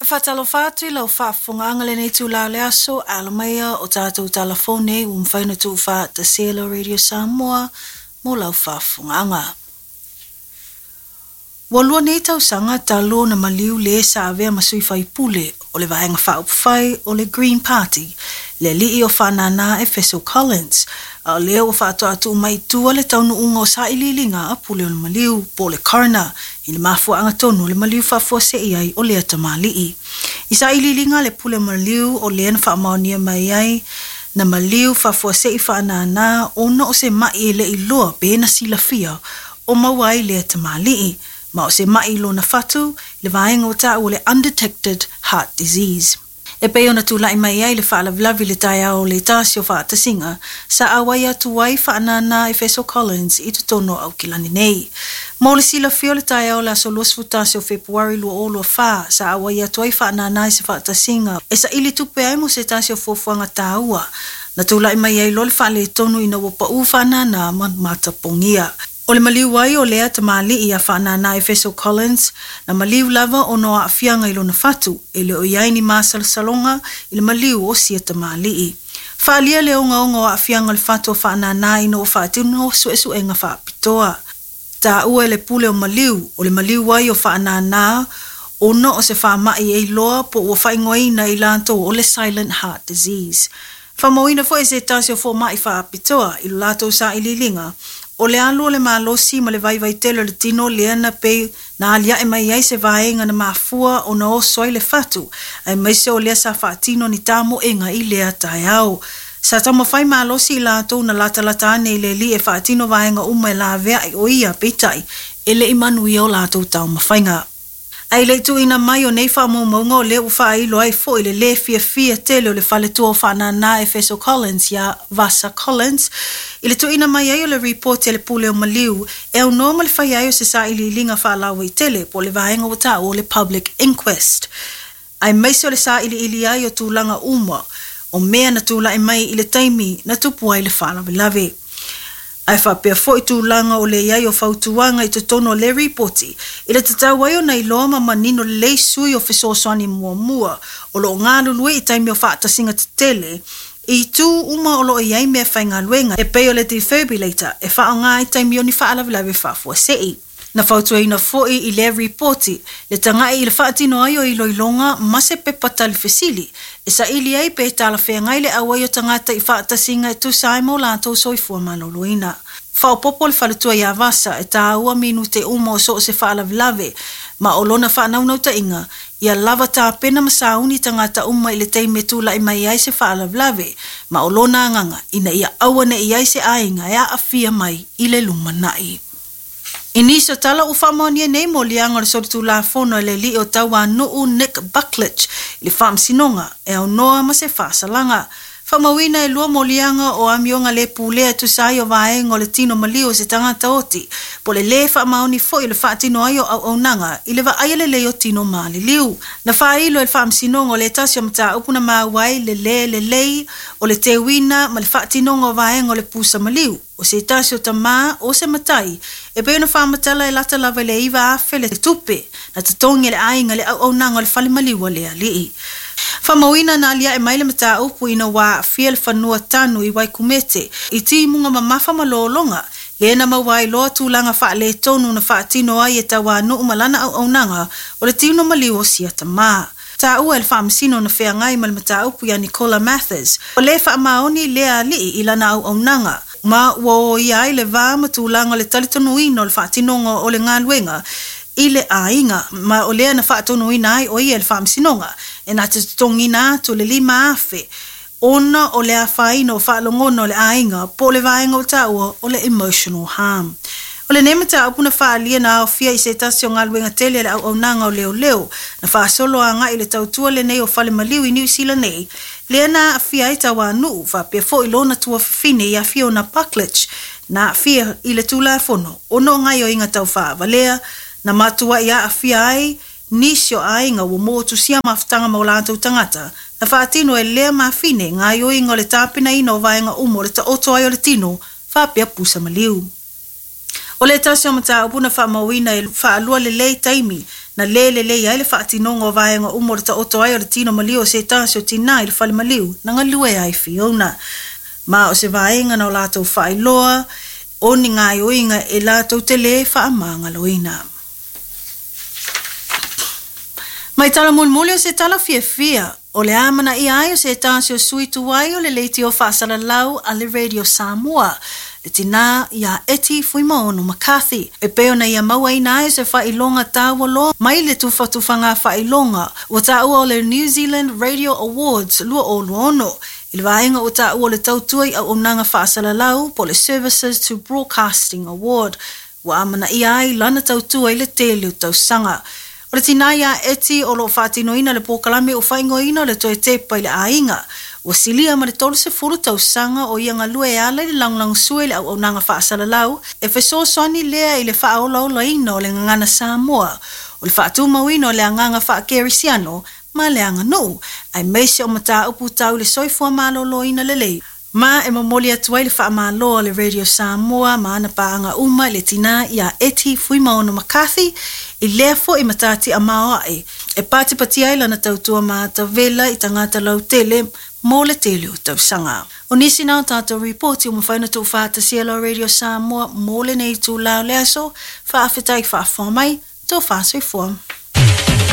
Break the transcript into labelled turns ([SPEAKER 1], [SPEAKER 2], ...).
[SPEAKER 1] Faatalofa atu i lau faafofogaaga lenei itulā o le aso, alo maia o tatou talafou nei ua mafai ona tuufaatasia e lau Radio Samoa mo lau faafofogaaga. Ua lua nei tausaga talu ona maliu le sa avea ma sui faipule o le Vaega Faaupufai o le Green Party, le alii o Faanana Efeso Collins, a o lea ua faatoa tuu mai i tua le taunuuga o sailiiliga a pule o le maliu, po o le coroner, i le mafuaaga tonu o le maliu faafuasei ai o lea tamalii. I sailiiliga a le pule o maliu o lea na faamaonia mai ai na maliu faafuasei Faanana ona o se mai e le iloa pe na silafia o maua ai lea tamalii, ma o se mai i lona fatu, le vaega o taua o le undetected heart disease. E pei ona tulai mai ai le faalavelave i le taeao o le tasi o faatasiga, sa auai atu ai Faanana Efeso Collins i totonu o Aukilani nei. Mo le silafia o le taeao o le aso 21 o Fepuari 2024, sa auai atu ai Faanana i se faatasiga e saili tupe ai mo se tasi o fuafuaga taua, na tulai mai ai loa le faaletonu ina ua pau Faanana ma matapogia. O le maliu ai o lea tamalii ia Faanana Efeso Collins, na maliu lava ona o aafiaga i lona fatu, e le o i ai ni masalosaloga i le maliu o sia tamalii. Faaalia le ogaoga o aafiaga o le fatu o Faanana ina ua faatino suesuega faapitoa. Taua e le pule o maliu, o le maliu ai o Faanana ona o se faamai e iloa po ua faaigoaina e i latou o le silent heart disease. Faamauina foi e se tasi o fomai faapitoa i lo latou sailiiliga, o le alu o le malosi ma le vaivai tele o le tino lea na pei na aliae mai ai se vaega na mafua ona oso ai le fatu, aemaise o lea sa faatino ni tamoega i lea taeao. Sa taumafai malosi i latou na latalata ane i le alii e faatino vaega uma e laveai o ia, peitai e le i manuia o latou taumafaiga. Ae i le i tuuina mai o nei faamaumauga o lea ua faailo ai foi le lē fiafia tele o le faletua o Faanana Efeso Collins iā Vasa Collins i le tuuina mai ai o le ripoti a le pule o maliu e aunoa ma le faia ai o se sailiiliga faalauaitele po o le vaega ua taua o le public inquest aemaise o le sailiili ai o tulaga uma o mea na tulai mai i le taimi na tupu ai le faalavelave. Ae faapea foi tulaga o le i ai o fautuaga i totonu o le ripoti i le tatau ai ona iloa ma manino lelei sui o fesoasoani muamua o lo o galulue i taimi o faatasiga tetele i itu uma o lo o i ai meafaigaluega e pei o le defibrillator e faaaoga i taimi o ni faalavelave faafuasei. Na fautuaina foi i lea ripoti le tagai i le faatino ai o iloiloga ma se pepa tali fesili e saili ai pe talafeagai le auai o tagata i faatasiga e tusa ai ma o latou soifua maloloina. Faaopoopo le faletua ia Vasa e taua minute uma o so o se faalavelave ma o lona faanaunautaiga ia lava tapena ma sauni tagata uma i le taimi e tulai mai ai se faalavelave ma o lona agaga ina ia aua ne i ai se aiga e aafia mai i le lumanai. I nisi o tala ua faamaonia nei moliaga o le solitulafono e le alii o Tauanuu Nick Buckledge i le faamasinoga e aunoa ma se faasalaga. Faamauina e lua moliaga o amioga le pulea e tusa ai o vaega o le tino maliu o se tagata oti, po o le lē faamaoni foi o le faatino ai o auaunaga i le vaaia lelei o tino maliliu. Na faailo e le faamasinoga o le tasi o mataupu na maua ai le lē lelei o le teuina ma le faatinoga o vaega o le pusa maliu o se tasi o tamā o se matai e pei ona faamatala e lata lava i le 9,000 le tupe na totogi e le aiga i le auaunaga o le fale maliu a le alii. Faamauina na aliae mai le mataupu ina ua aafia le fanua tanu i Waikumete i timuga mamafa ma lologa, lea na maua ai loa tulaga faaletonu na faatino ai e Tauanuu ma lana auaunaga o le tino maliu o sia tamā. Taua e le faamasino na feagai ma le mataupu ia Nicola Mathers, ua le faamaoni lea alii i lana auaunaga, ma ua oia ai le va ma tulaga o le talitonuina o le faatinoga o le galuega i le aiga, ma o lea na faatonuina ai o ia e le faamasinoga e na te totogiina atu le 5,000 ona o le afaina o faalogona o le aiga po o le vaega ua taua o le emotional harm. O lenei mataupu na faaalia na aofia i se tasi o galuega tele a le auaunaga o leoleo na faasolo agai i le tautua lenei o fale maliu i Niu Sila nei, lea na aafia ai Tauanuu faapea foi lona tuafafine ia Fiona Buckledge na aafia i le Tulafono ona o gaoioiga tau faavalea na matuai aafia ai nisi o aiga ua motusia mafutaga ma o latou tagata na faatino e lea mafine gaoioiga o le tapenaina o vaega uma o le taoto ai o le tino faapea pusa maliu. O le tasi o mataupu na faamauina e faalua lelei taimi na lē lelei ai le faatinoga o vaega uma o le taoto ai o le tino maliu o se tasi o tinā i le fale maliu na galue ai Fiona. Ma o se vaega na o latou faailoa o ni gaoioiga e latou te lē faamagaloina. Mai tala mulimuli o se tala fiafia, o le amanaia ai o se tasi o sui tuai o le leitio faasalalau a le Radio Samoa, le tinā ia Eti Fuimaono McCarthy, e pei ona ia mauaina ai se faailoga taua loa mai le tufatufaga faailoga ua taua o le New Zealand Radio Awards 2026 i le vaega ua taua o le tautua i auaunaga faasalalau po o le Services to Broadcasting Award, ua amanaia ai lana tautua i le tele o tausaga. O le tinā ia Eti o lo o faatinoina le polokalame ua faaigoaina o le Toe Tepa i le Aiga. Ua silia ma le 30 tausaga o ia galue e ala i le lagolagosua i le auaunaga faasalalau, e fesoasoani lea i le faaolaolaina o le gagana Samoa, o le faatumauina o le agaga faakerisiano ma le aganuu, aemaise o mataupu tau i le soifua maloloina lelei. Ma e momoli atu ai le faamalo a le Radio Samoa ma ana paaga uma i le tinā ia Eti Fuimaono McCarthy i lea foi matatia maoae e patipatia ai lana tautua matavela i tagata lautele mo le tele o tausaga. O nisi na o tatou ripoti ua mafai ona tuufaatasia la Radio Samoa mo lenei itulā o le aso. Faafetai faafofoga mai, tofa soifua.